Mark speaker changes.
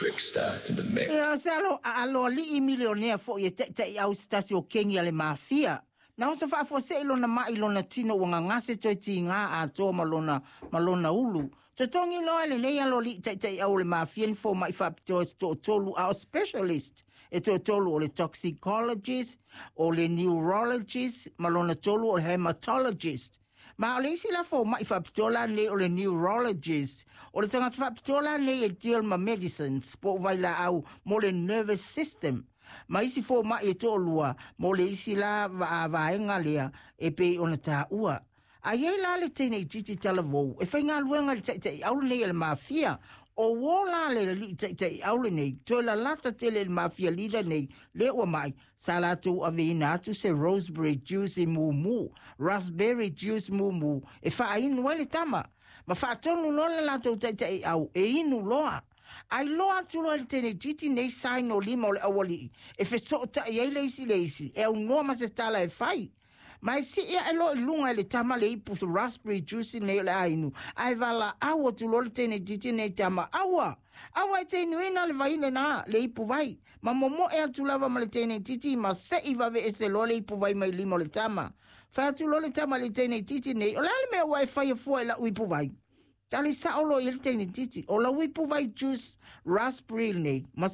Speaker 1: Trickster in the mix.
Speaker 2: Ia, o se alo, aloalii milionea foi e taitaiau se tasi o kengi a le mafia. Na oso faafuasei lona mai lona tino ua gagase toe tiga atoa ma lona, ma lona ulu. Totogi loa e lenei aloalii taitaiau o le mafia ni fomai faapitoa se toatolu a o specialist e toatolu o le toxicologist, o le neurologist ma lona tolu o le hematologist. Ma o le isi la fomai faapitoa la nei o le neurologist, o le tagata faapitoa la nei e deal ma medicines po o vailaau mo le nervous system. Ma isi fomai e toalua mo le isi la vaega lea e pei ona taua. A i ai la le teine itiiti talavou e faigaluega i le taitaiau lenei a le mafia, o uō la le alii taitaiau lenei, toe lalata tele i le mafia leader nei lea ua mai, sa latou aveina atu se roseberry juice mumu, raspberry juice mumu e faainu ai le tama. Ma faatonu loa le latou taitaiau e inu loa. A iloa atu loa e le teine itiiti nei sign o lima o le aualii e fesootai ai le isi i le isi, e aunoa ma se tala e fai. Ma e sii ae loa i luga e le tama le ipu raspberry juice nei o le a inu, ae valaau atu loa le teine itiiti nei tama, Aua! Aua e te inuina le vai lenā, le ipu vai. Ma momoe atu lava ma le teine itiiti ma seʻi vave ese loa le ipu vai mai lima o le tama. Fai atu loa le tama i le teine itiiti nei, O le a le mea ua e faia fua i lau ipu vai? Tali sao loa i ai le teine itiiti, O lau ipu vai juice raspberry lenei, ma